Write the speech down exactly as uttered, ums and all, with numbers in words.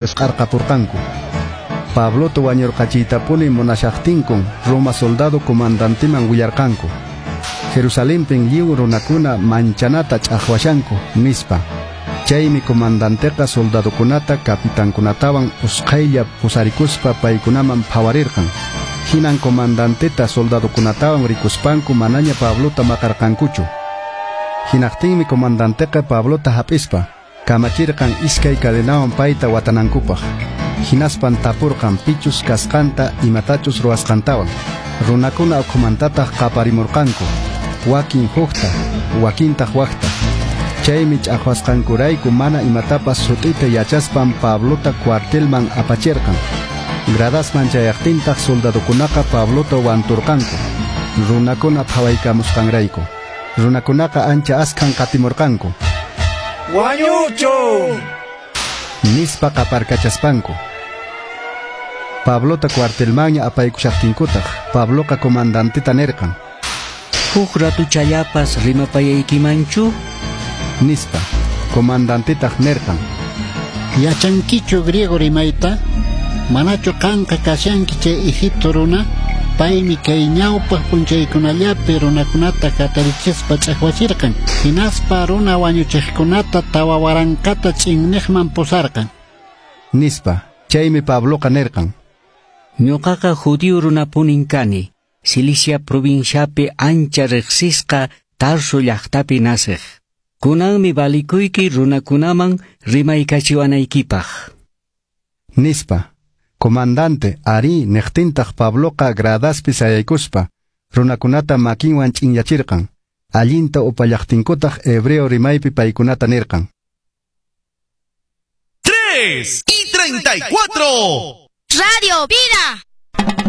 Qarqapurqanku. Pablota wañurqachiytapuni munashaqtinkun Roma soldado comandanteman willarqanku: "Jerusalenpin lliw runakuna manchanata ch'aqwashanku", nispa. Chaymi comandanteqa soldadokunata capitankunatawan usqhaylla pusarikuspa paykunaman phawarirqan. Hinan comandanteta soldadokunatawan rikuspanku manaña Pablota maqarqankuchu. Hinaqtinmi comandanteqa Pablota hap'ispa kamachirqan iskay cadenawan payta watanankupaq. Hinaspan tapurqan pichus kasqanta, imatachus ruwasqantawan. Runakuna ukhumantataq qaparimurqanku, wakin hukta, wakintaq wakta. Chaymi ch'aqwasqankurayku mana imatapas sut'ita yachaspan Pablota cuartelman apachirqan. Gradasman chayaqtintaq soldadokunaqa Pablota wanturqanku, runakuna phawaykamusqanrayku. Runakunaqa ancha askhan qatimurqanku. "¡Wañuchun!" nispa qaparkachaspanku. Pablota cuartelmanña apaykushaqtinkutaq, Pabloqa comandanteta nirqan: "Huk ratuchallapas rimapayaykimanchu?" nispa. Comandantetaq nirqan: "¿Yachankichu griego rimayta? Manachu qanqa kashanki chay Egipto runa? Paymi kay ñawpaq p'unchaykunallapi runakunata hatarichispa ch'aqwachirqan. Hinaspa runa wañuchiqkunata tawa waranqata ch'inniqman pusarqan", nispa. Chaymi Pabloqa nirqan: "Ñuqaqa judío runapunin kani, Cilicia provinciapi ancha riqsisqa Tarso llaqtapi nasiq. Kunanmi valikuyki runakunaman rimaykachiwanaykipaq", nispa. Comandante arí niqtintaq Pabloqa gradaspi sayaykuspa runakunata makinwan ch'inyachirqan. Allinta upallaqtinkutaq hebreo rimaypi paykunata nirqan: ¡Tres y treinta y cuatro! ¡Radio Vida!